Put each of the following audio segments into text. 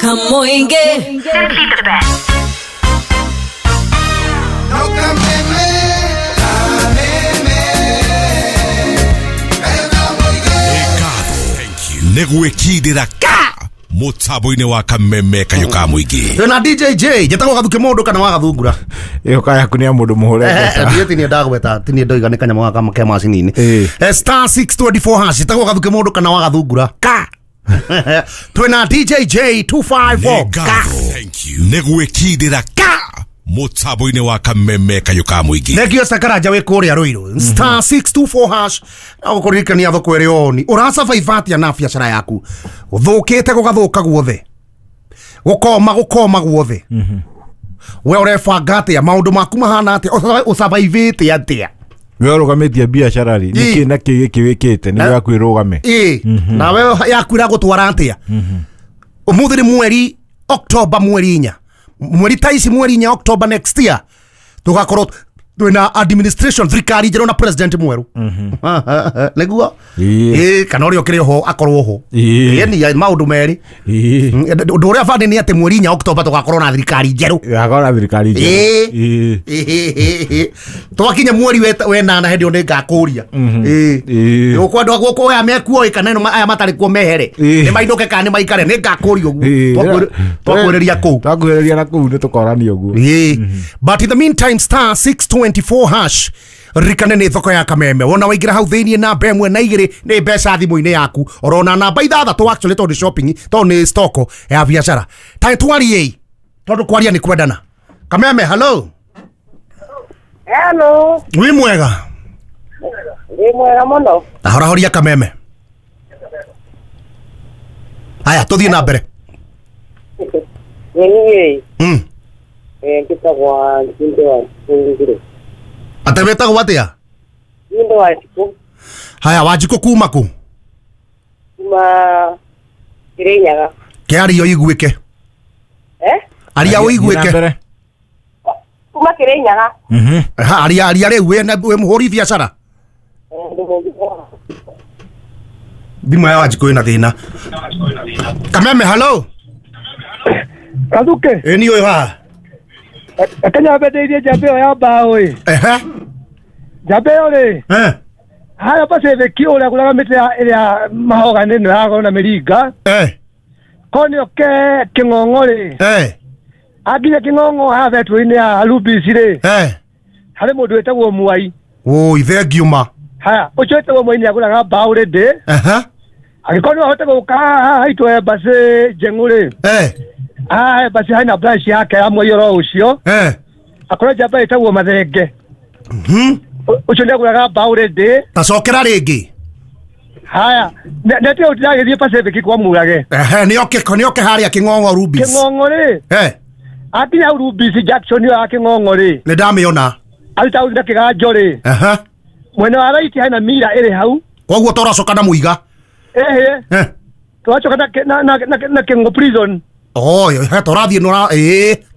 Kamoinge. Simply the best. Negwikindira ka mutambo-inĩ wa kameme kayũ ka mũingĩ. Na DJ J njĩtagwo Gathuke mũndũ kana wa Gathungura. Ĩyo kaya yaku nĩ ya mũndũ mũhũre mbeca. Ndiĩ ti niĩ ndagweta, ti niĩ ndoiga nĩ kanyamũ gaka ke macini-inĩ. Star 624 hash njĩtagwo Gathuke mũndũ kana wa Gathungura. Ka twĩna DJ J 254 ka. Negwikindira ka mutambo-inĩ wa kameme kayũ ka mũingĩ. Thengio Sakaranja wĩ kũrĩa Ruiru. Star 624 hash na gũkũririkania thoko ĩrĩ oni. Ũrasurvive atĩa na biacara yaku? Ũthũkĩte gũgathũka guothe. Gũkoma gũkoma guothe. We ũrebanga atĩa? Maũndũ maku mahana atĩa? Ũsurvivĩte atĩa? We ũrũgamĩtie biacara rĩ, nĩkĩ na kĩ gĩkĩ wĩkĩte nĩguo yaku ĩrũgame? Nawe yaku ĩragũtwara atĩa? Ũmũthĩ nĩ mweri October mweri 4. Mweri ta ici mweri 4 October next year tugakorwo twina administration thirikari njerũ na president mwerũ. Nĩguo kana ũrĩa ũkĩrĩ ho akorwo ho. Ĩni maũndũ merĩ. Ũndũ ũrĩa bani nĩ atĩ mweri 4 October tugakorwo na thirikari njerũ. Tugakorwo na thirikari njerũ. Twakinya mweri wenana hĩndĩ ĩyo nĩngakũria. Gũkũ andũ gũkũ aya mekuo kana ĩno aya matarĩ kuo mehere. Nĩ mainũke kana nĩ maikare nĩngakũria ũguo. Twakuhĩrĩria kũu. Twakuhĩrĩria na kũu nĩtũkorania ũguo. But in the meantime star 624 hash ririkane nĩ thoko ya kameme. Wona waingĩra hau thĩiniĩ namba 1 na 2 nĩ mbeca thimũ-inĩ yaku. Orona namba 6 actually tondũ shopping tondũ nĩ stoko ya biacara. Ta twarie tondũ kwaria nĩ kwendana. Kameme hello. Hello. Wĩ mwega? Wĩ mwega mũno. Ahorahoria kameme. Haya tũthiĩ na mbere. Niĩ. Njĩtagwo Njindo wa Njikũ. Ate wĩtagwo atĩa? Njindo wa Njikũ. Haya Wanjikũ kuma kũ? Kuma Kirinyaga. Kĩaria ũiguĩke. Aria ũiguĩke. Kuma Kirinyaga. Aria aria rĩu wĩ mũhũri biacara. Thimũ ya Wanjikũ ĩna thĩna. Kameme hello. Gathuke. Ĩ niĩ ũyũ haha. Kenya mbendeirie njamba ĩyo ya mbaũ ĩ. Njamba ĩyo rĩ. Harĩa Pacific ũrĩa agũraga mĩtĩ ĩrĩa mahoga nĩ ĩno ya goro na mĩringa. Korwo nĩ oke Kĩng'ong'o rĩ. Anginya Kĩng'ong'o haha betũrũ-inĩ ya Rubis rĩ. Harĩ mũndũ wĩtagwo Mwai. Ũi thengiũ ma. Haya ũcio wĩtagwo Mwai nĩ agũraga mbaũ rĩndĩ. Angĩkorwo no ahote gũka haha haitũ embassy Njeng'ũ rĩ. Ah, basi haina branch yake ya Mwai oro ũcio. Akorwo njamba ĩtagwo Mathenge. Ũcio nĩ agũraga mbaũ rĩndĩ. Tacokera rĩngĩ. Haya, nĩatĩ ũtiragĩthiĩ Pacific kwa Mũrage. Nĩoke harĩa Kĩng'ong'o Rubis. Kĩng'ong'o rĩ. Akinya hau Rubis Junction ĩyo ya Kĩng'ong'o rĩ. Nĩ ndamĩona. Aruta hau na kĩganjo rĩ. Mwena wa right hena mira ĩrĩ hau. Koguo tũracoka na Mũiga. Tũracoka na Kĩng'ong'o prison. Oh, tũrathiĩ nora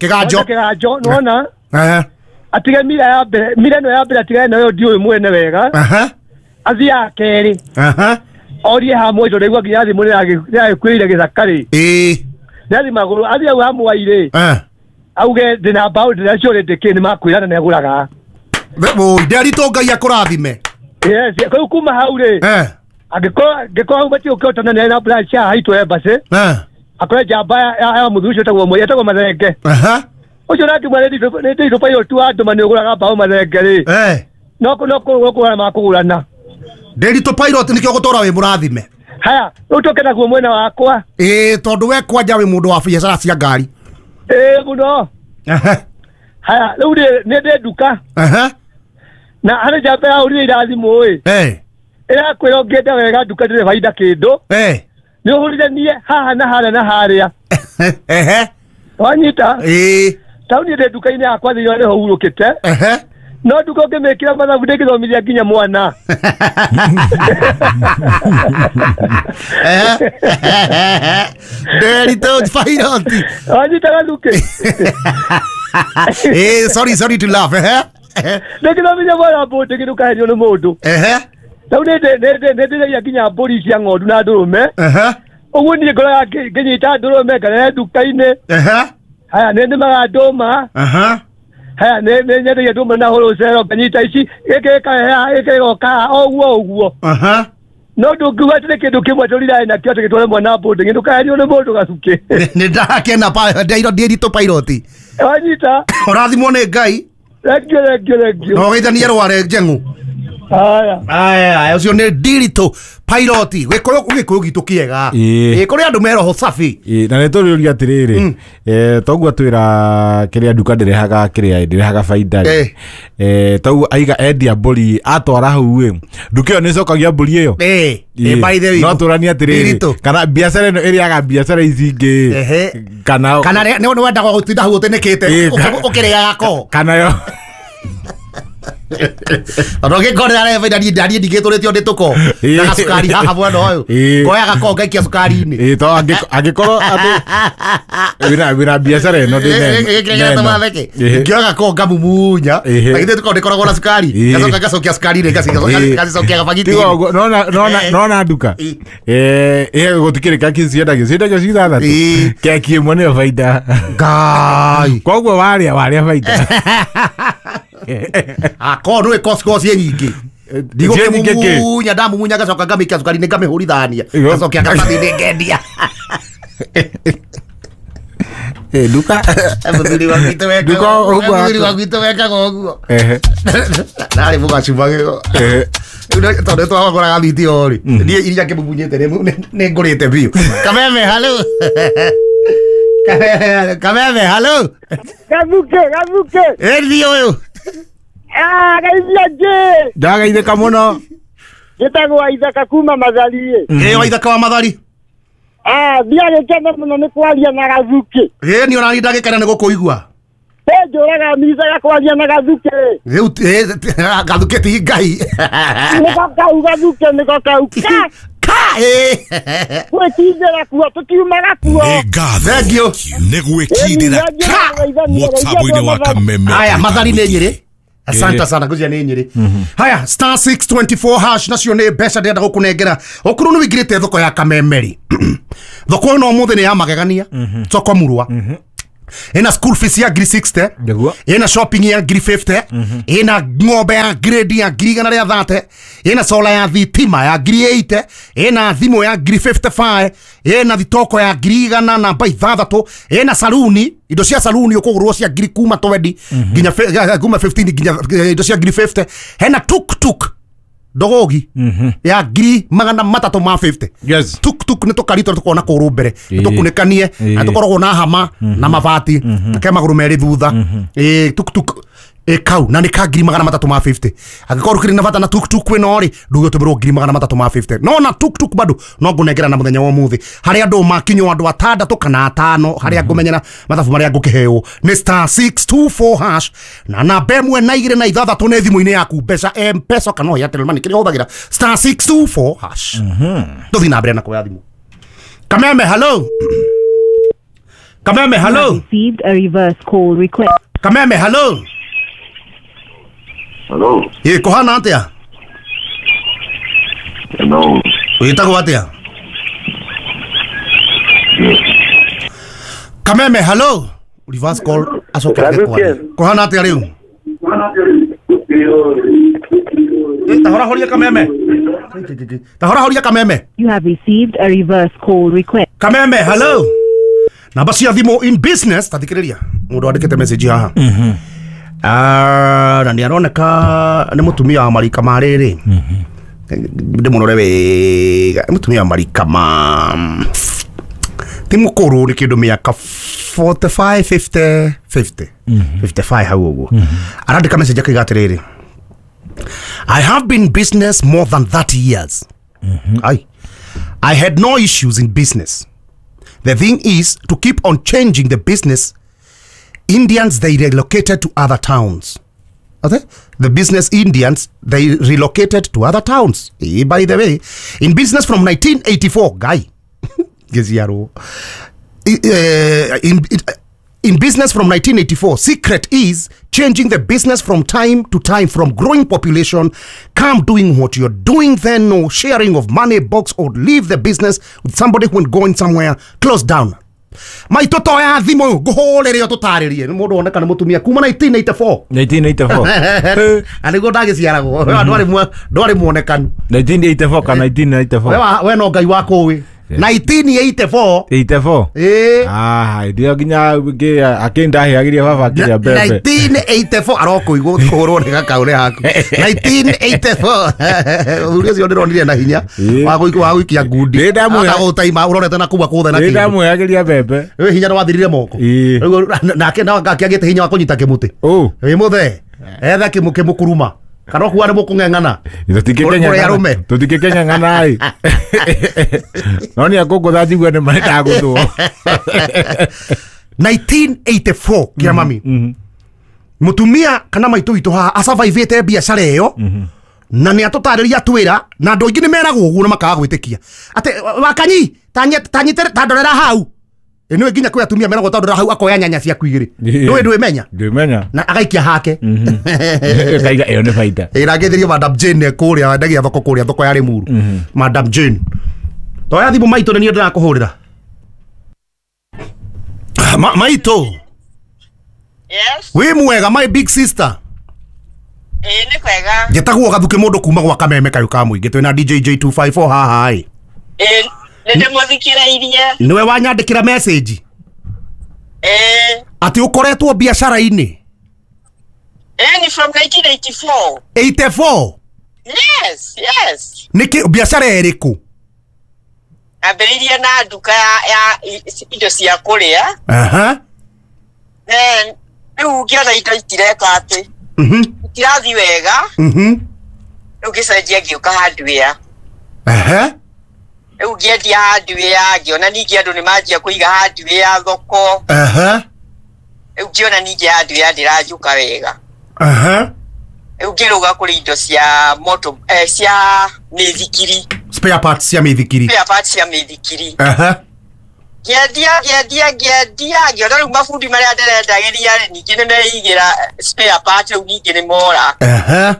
kĩganjo. Kĩganjo nĩwona? Atige mira ya mbere, mira ĩno ya mbere atigane nayo ndiũĩ mwene wega. Athiĩ ya kerĩ. Orie ha Mwai tondũ ndaigua nginya thimũ nĩyagĩkuĩrĩire gĩthaka rĩ. Nĩathiĩ magũrũ, athiĩ hau ha Mwai rĩ. Auge ndĩna mbaũ ndĩnacio rĩndĩ kĩ nĩmakwĩra na nĩagũraga. Nderitũ Ngai akũrathime. Yes, rĩu kuma hau rĩ. Angĩkorwo hau matigũkĩhotana nĩ na branch ya haitũ embassy. Akorwo njamba ya mũthuri ũcio wĩtagwo Mwai etagwo Mathenge. Ũcio nake mwene nĩ nditũ pilot wa andũ ma nĩũgũraga mbaũ Mathenge rĩ. No kũgũrana makũgũrana. Ndĩritũ pilot nĩkĩo gũtũra wĩ mũrathime. Haya, rĩu tũke naguo mwena wakwa. Tondũ we kwanja wĩ mũndũ wa biacara cia ngari. Mũno. Haya, rĩu nĩ ndĩ nduka. Na harĩ njamba ya ũrire irathimũ ĩ. Ĩrakwĩra ũngĩenda wega nduka ndĩrĩ baida kĩndũ. Nĩ ũhũrithanie haha na harĩa na harĩa. Wanyita? Tauni ndĩ nduka-inĩ yakwa thĩinĩ nĩho hurũkĩte. No nduka ũngĩmĩkĩra mathabu ndĩngĩthomithia nginya mwana. Nderitũ pilot. Wanyita Gathuke? Sorry to laugh. Ndĩngĩthomithia mwana mbũndĩ ndũkaherio nĩ mũndũ. Rĩu nĩ ndĩithagia nginya mbũri cia ng'ondu na ndũrũme. Ũguo niĩ ngoro ngĩnyita ndũrũme ngarere nduka-inĩ. Haya nĩ nĩmaga ndũma. Haya nĩ nyendagia ndũma na wholesale nganyita ici gĩkĩ gĩkareha gĩkĩ gĩgoka o ũguo ũguo. No ndũngiuga atĩ nĩ kĩndũ kĩmwe tũriraĩ nakĩo atĩ gĩtware mwana boarding ndũkaherio nĩ mũndũ gacukĩ. Nĩ ndakena ndeirwo ndĩritũ pilot. Wanyita. Ũrathimwo nĩ Ngai. Thank you, thank you, thank you. No geithanie rware njeng'u. Haya. Aya, ũcio nĩ Ndiritũ pilot. Gĩkũyũ gĩkũyũ gitũ kĩega. Ĩĩ. Kũrĩ andũ me roho safi. Na nä tå rä å ria atä rä rä toguo twä ra kä rä a nduka ndärehaga kä rä a ndärehaga baida rä toguo aiga endia mbũri atwara hau ä nduka ä yo nä cokagia mbũri ä yo By the way, no tå ranie atä rä Ndiritũ. rä kana biacara ä no ä rä aga biacara ici ingä kana Kana nĩ wendaga gũtinda hau ũtĩnĩkĩte ũkĩrĩaga ko. Kana yo Tondũ ngĩkorera rehe baida niĩ ndaniĩ ndigĩtũrĩtio ndĩ tũko. Na gacukari haha mwena ũyũ. Ngoya gako ngaikia cukari-inĩ. Ĩĩ to angĩkorwo atĩ wĩna biacara ĩno ndĩ Ngĩoya gako ngamumunya. Na githĩ tũkoragwo ndĩkoragwo na cukari. Ngacoka ngacokia cukari-inĩ ngacicokia gabagiti-inĩ. Nona nduka. Gũtikĩrĩ keki ciendagio ciendagio ci ithathatũ. Keki ĩmwe nĩyo baida. Ngai. Koguo warĩa baida. Ako nä kosi nyingä ndigåkä ndamumunya ngacoka ngamä cukari nä ngamä hå rithania ngacokia ngatathi ngendia. Nduka mũthuri wa gwitũ wekaga ũguo narĩ mũgacuma tondũ twagũraga thiti o rĩ niĩ iria ngĩmumunyĩte nĩ ngũrĩte biũ. Kameme halo. Kameme halo. Gathuke gathuke. Ĩthi ũyũ. Geithia njĩ. Ndagaithĩka mũno. Njĩtagwo Waithaka kuma Mathari. Ĩ Waithaka wa Mathari. Ndiagĩkena mũno nĩ kwaria na Gathuke. Ĩ niĩ ona niĩ ndagĩkena nĩ gũkũigua. Njũraga micaga kwaria na Gathuke. Rĩu Gathuke ti Ngai. Nĩko kau Gathuke nĩko kau. Ka gwĩkindĩra kuo tũtiumaga kuo. Nĩ ngatho. Thank you. Nĩ gwĩkindĩra ka mũtambo-inĩ wa Kameme. Aya Mathari nĩ Nyĩrĩ. Asante sana ngũcia nĩ Nyĩrĩ. Haya star 624 hash nacio nĩ mbeca ndĩrenda gũkũnengera. Okorwo nĩ wĩingĩrĩte thoko ya Kamemeri. Thoko ĩno ũmũthĩ nĩ ya magegania. Soko murwa. Ina school fees ya ngiri 60. Ina shopping ya ngiri 50. Ina ng'ombe ya grade ya ngiri igana rĩa 30. Ina solar ya thitima ya ngiri 80. Ina thimũ ya ngiri 55. Ina thitoko ya ngiri igana namba ithathatũ. Ina saluni indo cia saluni ũkũgũrwo cia ngiri kuma 20 nginya kuma 15 nginya indo cia ngiri 50. Hena tuk tuk ndogogi ya ngiri magana matatũ ma 50. Yes. Tuk tuk nĩ tũkari tũrĩa tũkoragwo na kũgũrũ mbere tũkunĩkanie na tũkoragwo na hama na mabati na ke magũrũ merĩ thutha. Tuk tuk kau na nĩ ka ngiri magana matatũ ma 50. Angĩkorwo ũkĩrĩ na bata na tuk tuk ĩno rĩ nduge ũtũmĩrwo ngiri magana matatũ ma 50. No na tuk tuk bado no ngũnengera na mũthenya wa ũmũthĩ harĩa andũ makinywo andũ atandatũ kana atano harĩa ngũmenyera mathabu marĩa ngũkĩheo nĩ star 624 hash na namba ĩmwe na igĩrĩ na ithathatũ nĩ thimũ-inĩ yaku mbeca M-Pesa kana no Airtel Money kĩrĩa ũhũthagĩra star 624 hash. Tũthiĩ na mbere na kuoya thimũ. Kameme hello. Kameme hello. Received a reverse call request. Kameme hello. Hello. Ĩ kũhana atĩa? Hello. Wĩtagwo atĩa? Kameme hello. Reverse call acoke kwaria. Kũhana atĩa rĩu? Ta horia Kameme. Ta horia Kameme. You have received a reverse call request. Kameme hello. Namba cia thimũ in business tathikĩrĩria. Mũndũ andĩkĩte message haha. Na nĩ aroneka nĩ mũtumia wa marika ma rĩrĩ. Ndĩmũrore wega. Nĩ mũtumia wa marika ma ti mũkũrũ nĩ kĩndũ mĩaka 45 50 50 55 hau ũguo. Arandĩka message akauga atĩrĩrĩ. I have been in business more than 30 years. I had no issues in business. The thing is to keep on changing the business. Indians, they relocated to other towns. Okay? The business Indians, they relocated to other towns. By the way, in business from 1984, guy. In business from 1984, secret is changing the business from time to time from growing population. Come doing what you're doing then, no sharing of money box or leave the business with somebody when going somewhere close down. Maitũ toya thimũ ngũhũrĩre ũtũtarĩrie nĩ mũndũ woneka nĩ mũtumia kuma 1984 1984 na nĩguo ndagĩciaragwo ndwarĩ muonekanu 1984 kana 1994 we no Ngai wakũĩ 1984 84 ĩĩ ah ndio nginya akĩndaheagĩria baba akĩrĩa mbembe 1984 arokũigwo kũhũrwo nĩ gakaũre haku 1984 mũthuri ũcio ndĩronire na hinya wa gũikia ngundi agũtaima ũrorete na kuma kũthe na kĩndũ ndamwĩhagĩria mbembe wĩ hinya nĩwathirire moko nake akĩagĩte hinya wa kũnyita kĩmũtĩ wĩ mũthee etha kĩmũkuruma kana kuwa nĩ mũkũng'eng'ana tũtingĩkeng'eng'ana ĩ no nĩ akũngũtha njigua nĩ marĩ ndagũthwo 1984 kĩa mami mũtumia kana maitũ witũ haha asurvivĩte biacara ĩyo na nĩ atũtarĩria twĩra na andũ aingĩ nĩ meragwo ũguo na makaga gwĩtĩkia atĩ wakanyi tandorera hau ĩnĩwe nginya kwĩ atumia meragwo tandorera hau akoya nyanya ciaku igĩrĩ ndũĩ ndwĩmenya ndwĩmenya na agaikia hake kaiga ĩyo nĩ baita ĩrangĩthĩrio Madam Jane kũrĩa wendagia thoko kũrĩa thoko ya Limuru Madam Jane toya thimũ maitũ nĩ niĩ ndĩrakũhũrĩra maitũ. Yes. Wĩ mwega my big sister. Ĩĩ nĩ kwega. Njĩtagwo Gathuke mũndũ kuma gwa Kameme kayũ ka mũingĩ twĩna DJ J254 haha ĩ. Ĩĩ nĩ ndĩmũthikĩrĩirie. Nĩwe wanyandĩkĩra message. Ĩĩ. Atĩ ũkoretwo biacara-inĩ. Ĩĩ ni from 1984. 84? Yes, yes. Nĩkĩ biacara ĩrĩkũ? Ambĩrĩirie na nduka ya indo cia kũrĩa. Aha. Then rĩu ngĩona indo itireka atĩ. Itirathiĩ wega. Rĩu ngĩcenjia ngĩũka hardware. Aha. Rĩu ngĩendia hardware ngĩona ningĩ andũ nĩ manjia kũiga hardware thoko. Aha. Rĩu ngĩona ningĩ hardware ndĩranjũka wega. Aha. Rĩu ngĩrũga kũrĩ indo cia moto cia mĩithikiri. Spare parts cia mĩithikiri. Spare parts cia mĩithikiri. Aha. Ngĩendia ngĩona rĩu mabundi marĩa ndĩrendagĩria rĩ ningĩ nĩ meigĩra spare part rĩu ningĩ nĩ mora. Aha.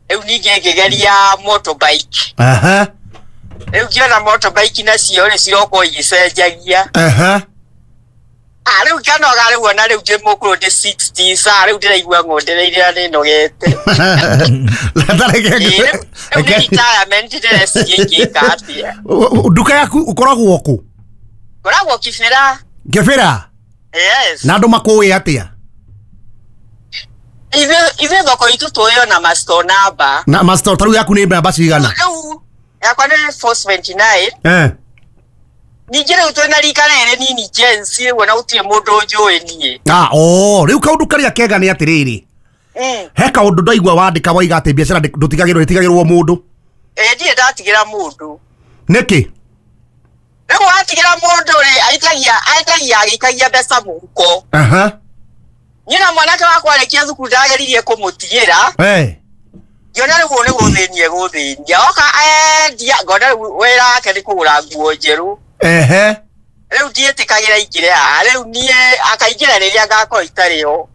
Rĩu ningĩ ngĩgeria motorbike. Aha. Rĩu ngĩona motorbike nacio rĩ ciroka igĩcenjagia. Aha. Ah rĩu nganoga rĩu ona rĩu ndĩ mũkũrũ ndĩ 60 sa rĩu ndĩraigua ng'ondereire na nĩnogete. Rĩu nĩ retirement ndĩreciria ingĩka atĩa. Nduka yaku ũkoragwo kũ? Ngoragwo Kibera. Kibera? Yes. Na andũ makũĩ atĩa? Ithuĩ thoko itũ tũĩo na ma store number. Na ma store tarĩu yaku nĩ namba cigana? Rĩu yakwa nĩ 479. Eh. Ningĩ rĩu twĩna rika rĩrĩ nini Gen Z rĩu ona gũtirĩ mũndũ ũnjũĩ niĩ. Ah, oh, rĩu kaũndũ karĩa kega nĩ atĩrĩrĩ. He kaũndũ ndaigua wandĩka waiga atĩ biacara ndũtigagĩrwo ĩtigagĩrwo mũndũ. Ĩĩ ndirĩ ndatigĩra mũndũ. Nĩkĩ? Rĩu watigĩra mũndũ rĩ aitagia agĩikagia mbeca mũhuko. Aha. Niĩ na mwanake wakwa arĩkia thukuru ndageririe kũmũtigĩra. Eh. Ngĩona rĩu ũũ nĩ gũthĩnia gũthĩnia. Oka endia ngona rĩu wĩra wake nĩ kũgũra nguo njerũ. Ehe. Rĩu ndiĩtĩkagĩra ingĩre haha rĩu niĩ akaingĩra rĩrĩa ngakorwo itarĩ ho.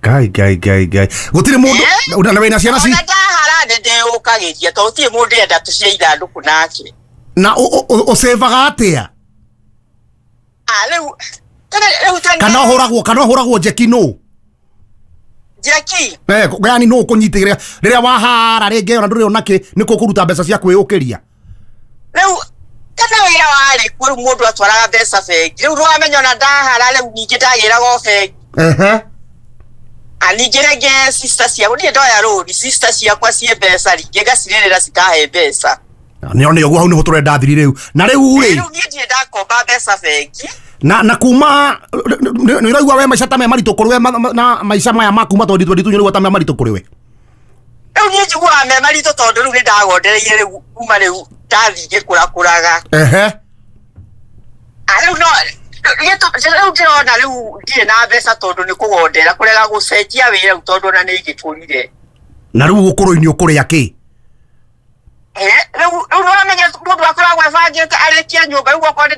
Ngai ngai ngai ngai. Gũtirĩ mũndũ na wĩna ciana ci. Ona ndahara nĩ ndĩũkagĩria tondũ gũtirĩ mũndũ enda tũcie ithandũkũ nake. Na ũsevaga atĩa? Ah rĩu tene kana ũhũragwo njeki nũ? Njeki? Eh, yani nũ ũkũnyitĩrĩra rĩrĩa wahara rĩngĩ ona ndũrĩ ona kĩ nĩ kũkũruta mbeca cia kwĩyũkĩria. Rĩu tene wĩra warĩ kuo rĩu mũndũ atwaraga mbeca bengi rĩu nĩwamenya ona ndahara rĩu ningĩ ndagĩraga o bengi. Ehe. Ah ningĩ rĩngĩ sister ciakwa niĩ ndoya rũni sister ciakwa ciĩ mbeca rĩngĩ ngacirĩrĩra cikahe mbeca. Nĩ nĩ ũguo hau nĩho tũrenda thiri rĩu na rĩu rĩ rĩu niĩ ndirĩ ndakomba mbeca bengi na kuma nĩ ũraigua we maica ta me maritũ kũrĩ we na maica maya ma kuma 2022 nĩ ũraigua ta me maritũ kũrĩ we. Rĩu niĩ njiguaga me maritũ tondũ rĩu nĩ ndagondereire rĩu kuma rĩu ndathiĩ ngĩkũrakũraga. Ehe. Ah rĩu no rĩu ndĩrona rĩu ndirĩ na mbeca tondũ nĩ kũgondera kũrega gũcenjia wĩra rĩu tondũ ona nĩ ngĩkũrire. Na rĩu ũkũrũ-inĩ ũkũrĩa kĩ? Rĩu nĩwamenya mũndũ akoragwo ebangĩte arĩkia nyũmba rĩu okorwo nĩ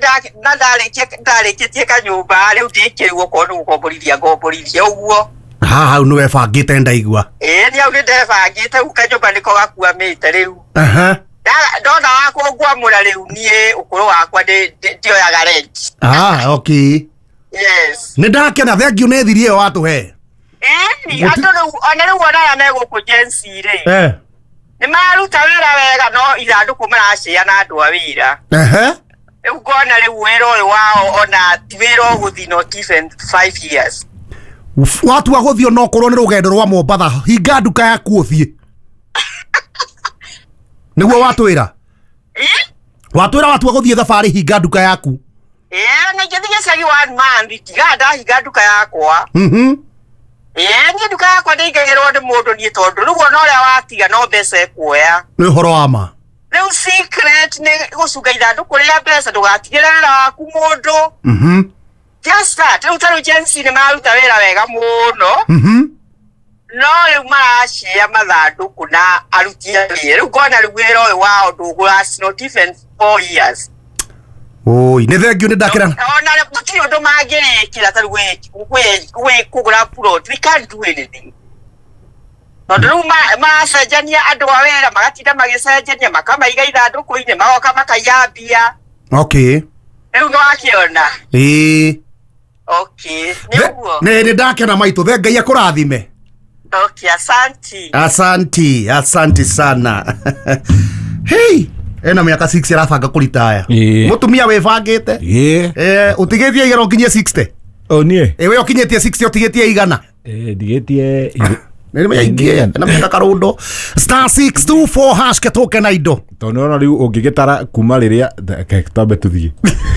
ndarĩkĩtie kanyũmba rĩu ndĩke rĩu okorwo nĩ gũkomborithia ngomborithia ũguo. Aha, hau nĩ webangĩte ndaigua. Ĩĩ nĩ hau nĩ ndebangĩte kanyũmba nĩko gakuamĩte rĩu. Aha. Ndona wakwa ngwamũra rĩu niĩ ũkũrũ wakwa ndioyaga rent. Ah, okay. Yes. Nĩ ndakena, thengiũ nĩ thiri ĩyo watũhe. Ĩni andũ rĩu ona rĩu ona aya me gũkũ Gen Z rĩ. Eh. Nĩ mararuta wĩra wega no ithandũkũ maraciana andũ a wĩra. Ehe. Rĩu ngona rĩu wĩra ũyũ wao ona ti wĩra ũgũthiĩ not even 5 years. Watua gũthiĩ no korwo nĩ rũgendo rwa Mombatha, hinga nduka yaku ũthiĩ. Nĩguo watwĩra? Watwĩra watua gũthiĩ thabarĩ hinga nduka yaku. Ĩĩ na ingĩthiĩ gĩcagi 1 month tiga ndahinga nduka yakwa. Ĩĩ niĩ nduka yakwa ndĩingagĩrwo nĩ mũndũ niĩ tondũ rĩu ona ũrĩa watiga no mbeca ekuoya. Nĩ ũhoro wa ma. Rĩu secret nĩ gũcunga ithandũkũ rĩa mbeca ndũgatigĩre wĩra waku mũndũ. Just that. Rĩu ta rĩu Gen Z nĩ mararuta wĩra wega mũno. No rĩu maracia mathandũkũ na aruti a wĩra. Rĩu ngona rĩu wĩra ũyũ wao ndũgũlast not even 4 years. Oi, nĩ thengiũ nĩ ndakĩra. Ona gũtirĩ ũndũ mangĩrĩkĩra ta rĩu kũgũra plot. We can't do anything. Tondũ rĩu maracenjania andũ a wĩra magatinda magĩcenjania makamaiga ithandũkũ-inĩ magoka makaiya mbia. Okay. Rĩu nĩwakĩona? Ĩĩ. Okay, nĩ ũguo. Nĩ ndakena maitũ, the Ngai akũrathime. Okay, asanti. Asanti, asanti sana. Hey, ena miaka 6 arabanga kũritaya. Mũtumia wĩbangĩte. Ĩĩ. Ũtigĩtie igana ũkinyie 60. O niĩ. Ĩĩ we ũkinyĩtie 60 ũtigĩtie igana. Ĩĩ ndigĩtie nĩ mĩaingĩ na mĩaka karundo. Star 624 hash ketoke na indo. Tondũ ona rĩu ũngĩgĩtara kuma rĩrĩa twambe tũthiĩ.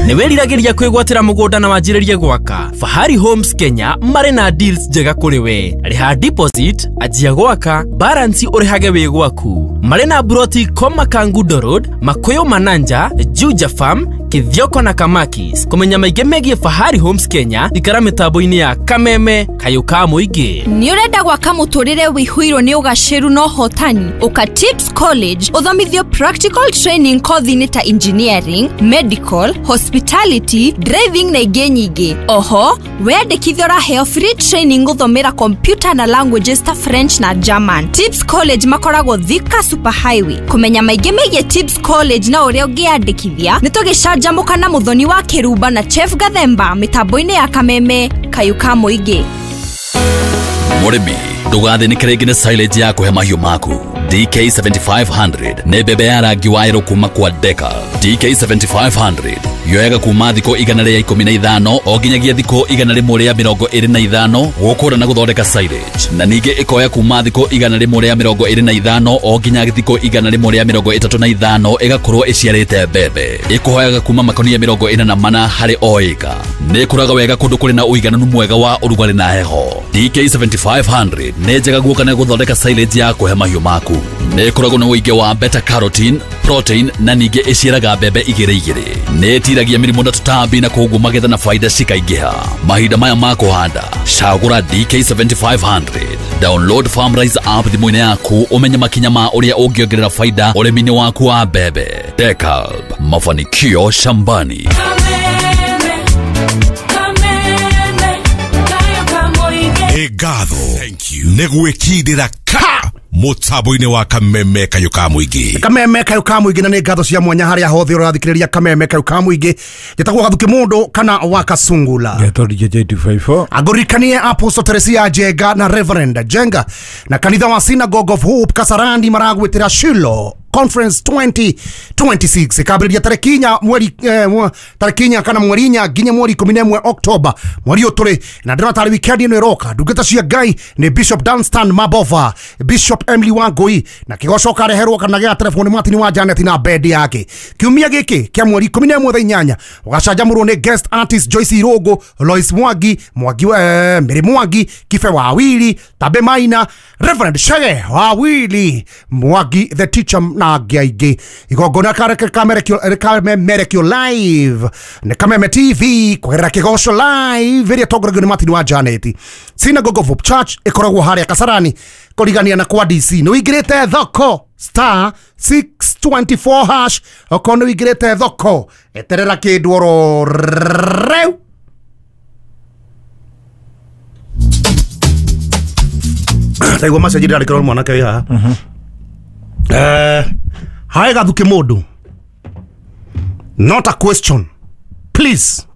Nĩ wĩriragĩria kwĩgwatĩra mũgũnda na wanjĩrĩrie gwaka. Fahari Homes Kenya marĩ na deals njega kũrĩ we. Rĩha deposit, anjia gwaka, balance ũrĩhage wĩ gwaku. Marĩ na broti Koma Kangundo Road, Makuyu Mananja, Juja Farm, Kithioko na Kamakis. Kũmenya maingĩ megiĩ Fahari Homes Kenya, ikara mĩtambo-inĩ ya Kameme Kayũ ka Mũingĩ. Nĩ ũrenda gwaka mũtũrĩre wĩihũirwo nĩ ũgacĩru na ũhotani? Ũka Tips College ũthomithio practical training kothi-inĩ ta engineering, medical, hospitality, driving na ingĩ nyingĩ. Oho, weyandĩkithia ũraheo free training gũthomera computer na languages ta French na German. Tips College makoragwo Thika Super Highway. Kũmenya maingĩ megiĩ Tips College na ũrĩa ũngĩyandĩkithia, nĩ tũgĩcanjamũka na Mũthoni wa Kĩrumba na Chef Gathemba mĩtambo-inĩ ya Kameme Kayũ ka Mũingĩ. Mũrĩmi, ndũgathĩnĩke rĩngĩ nĩ silage ya kũhe mahiũ maku. DK7500 nĩ mbembe ya rangi wa yerũ kuma kwa Deka. DK7500 yoyaga kuma thikũ 115 o nginyagia thikũ 125 gũkũra na gũthondeka silage, na ningĩ ĩkoya kuma thikũ 125 o nginya thikũ 135 ĩgakorwo ĩciarĩte mbembe. Ĩkũhoyaga kuma makonia 44 harĩ o ĩka. Nĩ ĩkũraga wega kũndũ kũrĩ na ũigananu mwega wa ũrugarĩ na heho. DK7500 nĩ njega guoka na gũthondeka silage ya kũhe mahiũ maku. Nĩ ĩkoragwo na ũingĩ wa beta carotene, protein na ningĩ ĩciaraga mbembe igĩrĩ igĩrĩ. Nĩ ĩtiragia mĩrimũ na tũtambi na koguo magetha na faida cikaingĩha. Mahinda maya ma kũhanda, cagũra DK7500. Download Farmrise app thimũ-inĩ yaku ũmenye makinya ma ũrĩa ũngĩongerera faida ũrĩmi-inĩ waku wa mbembe. Dekalb, mafanikio shambani. Ngatho nĩ gwĩkindĩra ka mũtambo-inĩ wa Kameme Kayũ ka Mũingĩ. Kameme Kayũ ka Mũingĩ, na nĩ ngatho cia mwanya harĩa hothe ũrathikĩrĩria Kameme Kayũ ka Mũingĩ. Njĩtagwo Gathuki Mũndũ kana wa Kasungula. Ngetwo DJ 254. Angũririkanie Apostle Teresia Jenga na Reverend Jenga na kanitha wa Synagogue of Hope Kasarani maragwĩtĩra Shiloh Conference 2026 ikambĩrĩria tarĩki inya mweri tarĩki inya kana mweri inya nginya mweri 11 October mweri ũyũ tũrĩ na ndĩrona tarĩ weekend ĩno ĩroka. Ndungata cia Ngai nĩ Bishop Dunstan Mabova, Bishop Emily Wangui na kĩgocoka reherwo kana gĩa telefoni Martin wa Janet na bed yake. Kiumia gĩkĩ kĩa mweri 11 thaa inyanya ũgacanjamũrwo nĩ guest artist Joyce Irogo, Lois Mwangi, Mwangi Mary Mwangi, Kibe Wawili, Tabe Maina, Reverend Shege Wawili, Mwangi the teacher na angĩ aingĩ. Igongona kamerekio live nĩ Kameme TV kũgerera Kĩgoco live ĩrĩa ĩtongoragio nĩ Martin wa Janet. Synagogue of Hope Church ĩkoragwo harĩa Kasarani kũrigania na kwa DC. Nĩ ũingĩrĩte thoko star 624 hash. Okorwo nĩ ũingĩrĩte thoko eterera kĩndũ oro rĩu. Taigua message ndĩrandĩkĩrwo nĩ mwanake wĩ haha. Hae Gathuki mũndũ. Not a question. Please.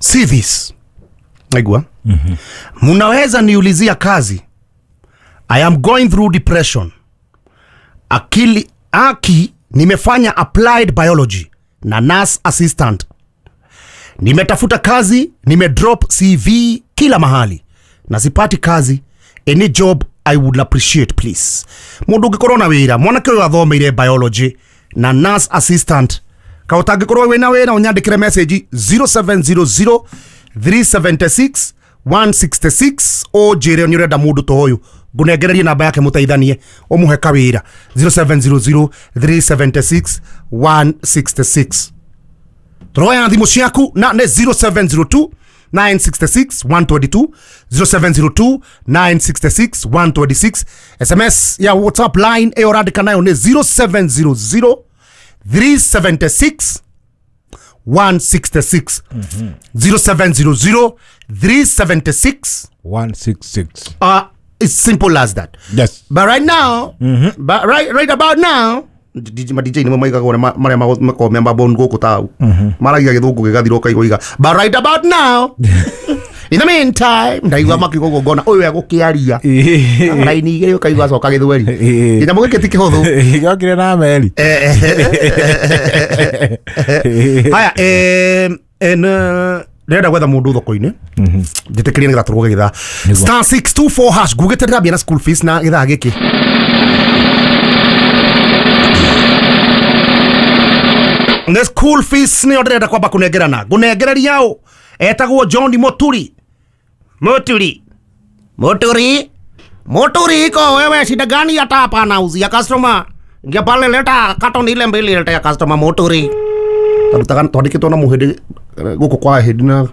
See this. Naigua. Munaweza niulizia kazi. I am going through depression. Akili aki nimefanya applied biology na nurse assistant. Nimetafuta kazi, nimedrop CV kila mahali na sipati kazi. Any job I would appreciate please. Mundu ungikorwo na wira, mwanake uyu athomeire biology na nurse assistant. Ka utangikorwo wina wira unyandikire message 0700 376 166 unjire ni urenda mundu to uyu ngunengererie namba yake muteithanie umuhe kawira 0700 376 166. Turoya thimu ciaku na ne 0702 966 122 0702 966 126. SMS ya WhatsApp line eyo randika nayo ni 0700 376 166. 0700 376 166. It's simple as that. Yes. But right now, but right about now, DJ DJ ni mama igagwo maria makomia mabon guku tau. Maragia githungu gigathira ukaigwa. But right about now, in the meantime, ndaigua makiuga ngona uyu egukiaria. Raini igiri ukaigua acoka githweri. Kinyamũ gĩkĩ ti kĩhũthũ. Gĩokire na meri. Haya, ndĩrenda gwetha mũndũ thoko-inĩ njĩtĩkĩrie nĩgetha tũrũge gĩthaa star 624 hash ngugĩte ndĩrambia na school fees na gĩthaa gĩkĩ. Nĩ school fees nĩyo ndĩrenda kwamba kũnengerana. Ngũnengereria ũ etagwo John Moturi. Moturi. Moturi. Moturi iko wewe shida gani hata hapa nauzia customer. Ingia pale leta carton ile mbili leta ya customer Moturi. Tarutaga twandĩkĩtwo na mũhĩndĩ gũkũ kwa hĩndĩ na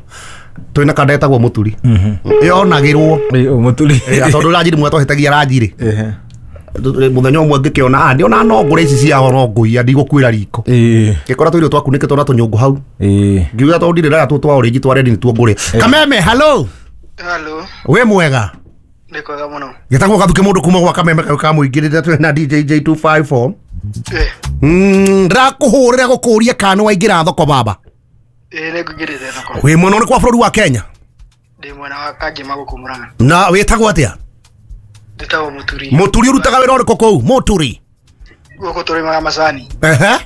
twĩna kanda ĩtagwo Mũturi. Yonagĩrwo Mũturi. Tondũ ranjiri mwe twahĩtagia ranjiri. Mũthenya ũmwe ngĩkĩona ndĩona no ngũre ici ciao no ngũiya ndigũkuĩra riko. Ngĩkora tũirio twakunĩkĩtwo na tũnyũngũ hau. Ngiuga tondũ ndirĩ ndaya tũ twa orange twa red nĩtuo ngũrĩa. Kameme, hello. Hello. Wĩ mwega? Nĩ kwega mũno. Gĩtagwo Gathuki mũndũ kuma gwa Kameme kau ka mũingĩ rĩrĩa twĩ na DJ J254. Ndĩrakũhũrĩra gũkũria kana nĩ waingĩra thoko baba. Nĩngũingĩrĩte thoko. Wĩ mwena ũrĩkũ wa bũrũri wa Kenya? Ndĩ mwena wa Kangema gũkũ Murang'a. Na wĩtagwo atĩa? Ndĩtagwo Mũturi. Mũturi ũrutaga wĩra ũrĩkũ kũu? Mũturi. Gũkũ tũrĩmaga macani. Ehe.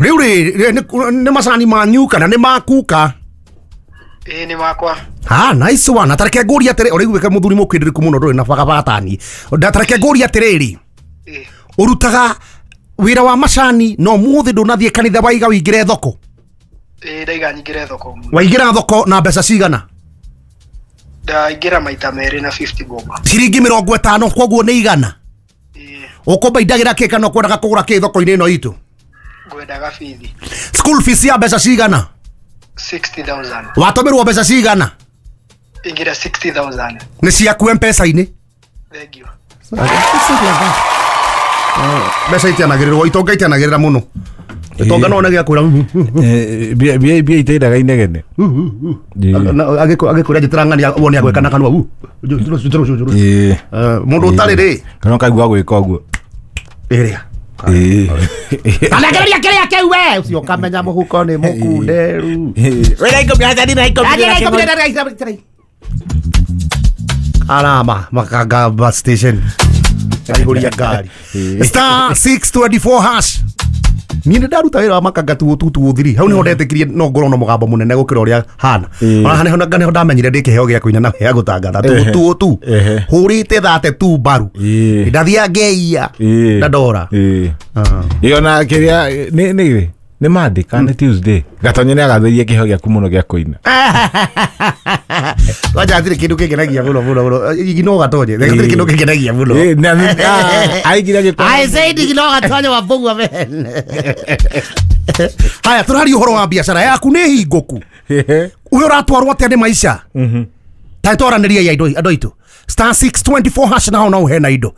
Rĩu rĩ nĩ macani manyu kana nĩ makuka? Nĩ makwa. Ah, nice one. Na tareke ngũrie atĩrĩ, ũraiguĩka mũthuri mũkĩndĩrĩku mũno ndũrĩ na bagabatani. Tareke ngũrie atĩrĩrĩ. Ũrutaga wĩra wa macani no mũthĩ ndũnathiĩ kanitha waiga wĩingĩre thoko? Ndaiga nyingĩre thoko. Waingĩra thoko na mbeca cigana? Ndaingĩra maita merĩ na 50 bob. Ciringi 50 koguo nĩ igana? Ũkũmbaindagĩra kĩ kana ũkwendaga kũgũra kĩ thoko-inĩ ĩno itũ? Ngwendaga bithi. School fees ya mbeca cigana? 60,000. Watũmĩrwo mbeca cigana? Ingĩra 60,000. Nĩ ciaku M-Pesa-inĩ? Thank you. Mbeca itianagĩrĩrwo, itonga itianagĩrĩra mũno. Itonga no onage akwĩra mbia iteithaga inegene. Agĩkwĩra njĩtĩra ng'ania wone agwĩka na kanua mũndũ ũtarĩ rĩ kana ũkaigua gwĩka ũguo ĩrĩa Anengereria kĩrĩa kĩu we ũcio ũkamenya mũhuko nĩ mũkunderu. Arama Makanga bus station aihũria ngari star 624 hash. Niĩ nĩ ndaruta wĩra wa Makanga 2223 hau nĩho ndetĩkirie no ngorwo na mũgambo mũnene gũkĩra ũrĩa hana. Ona nĩho ndamenyire ndĩ kĩheo gĩa kũina na gĩa gũtangatha 2222 hũrĩte 32 mbaru ndathiaga ngeiya na ndora. Ĩyo na kĩrĩa nĩ nĩ Monday kana nĩ Tuesday Gatonye nĩ agathĩrie kĩheo gĩaku mũno gĩa kũina. Kwanja hatirĩ kĩndũ kĩngenagia mũno mũno mũno igino Gatonye hatirĩ kĩndũ kĩngenagia mũno. Aingire gĩko. I said igino Gatonye wa Mbugua man. Haya tũraria ũhoro wa biacara yaku nĩ hingũku. Ũyũ ũratwarwo atĩa nĩ maica? Ta twaranĩria andũ aitũ star 624 hash na hau no ũhena indo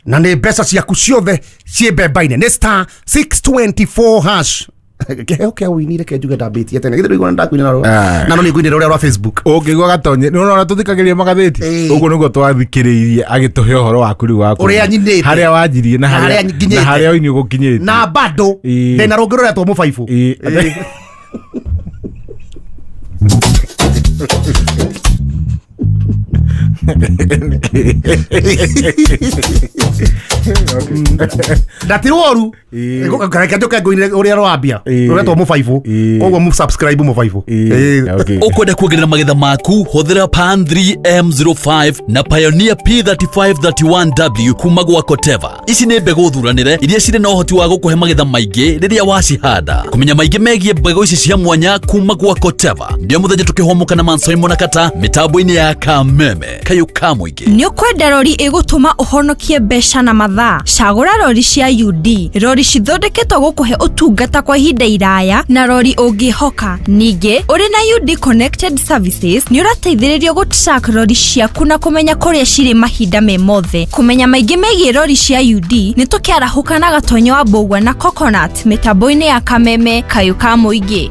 na nĩ mbeca ciaku ciothe ciĩ mbemba-inĩ nĩ star 624 hash. Kĩheo kĩa ũini reke njuge ndambĩtie tene. Githĩ ndũigua ndakuinĩra rũrũ? Na no nĩngũinĩra ũrĩa rwa Facebook. Ũngĩigua gatonye nĩ ũrona tũthikagĩrĩria magathĩti ũguo nĩguo twathikĩrĩirie agĩtũhe ũhoro waku rĩu waku Ũrĩa nyinĩte. harĩa wanjirie na Na harĩa harĩa nginyĩte. na harĩa ũini ũgũkinyĩte Na bado ndĩna rũngĩ rũretwo mũbaibũ. Na ti woru, reke njoke ngũinĩre ũrĩa rwambia rũretwo mũbaibũ, koguo mũ subscribe mũbaibũ. Ukwenda kuongerera magetha maku, hũthĩra Pan 3M05 na Pioneer P3531W kuma gwa Koteva. Ici nĩ mbegũ thuranĩre iria cirĩ na ũhoti wa gũkũhe magetha maingĩ rĩrĩa wacihanda. Kũmenya maingĩ megiĩ mbegũ ici cia mwanya kuma gwa Koteva ndio mũthenya tũkĩhũmũka na Mansoimo na Kata mĩtambo-inĩ ya Kameme kayũ ka mũingĩ. Nĩ ũkwenda rori ĩgũtũma ũhonokie mbeca na mathaa? Cagũra rori cia UD, rori cithondeketwo gũkũhe ũtungata kwa ihinda iraya na rori ũngĩhoka. Ningĩ ũrĩ na UD Connected Services nĩ ũrateithĩrĩrio gũ-track rori ciaku na kũmenya kũrĩa cirĩ mahinda me mothe. Kũmenya maingĩ megiĩ rori cia UD nĩ tũkĩarahũka na Gatonyo wa Mbũgua na Coconut mĩtambo-inĩ ya Kameme kayũ ka mũingĩ.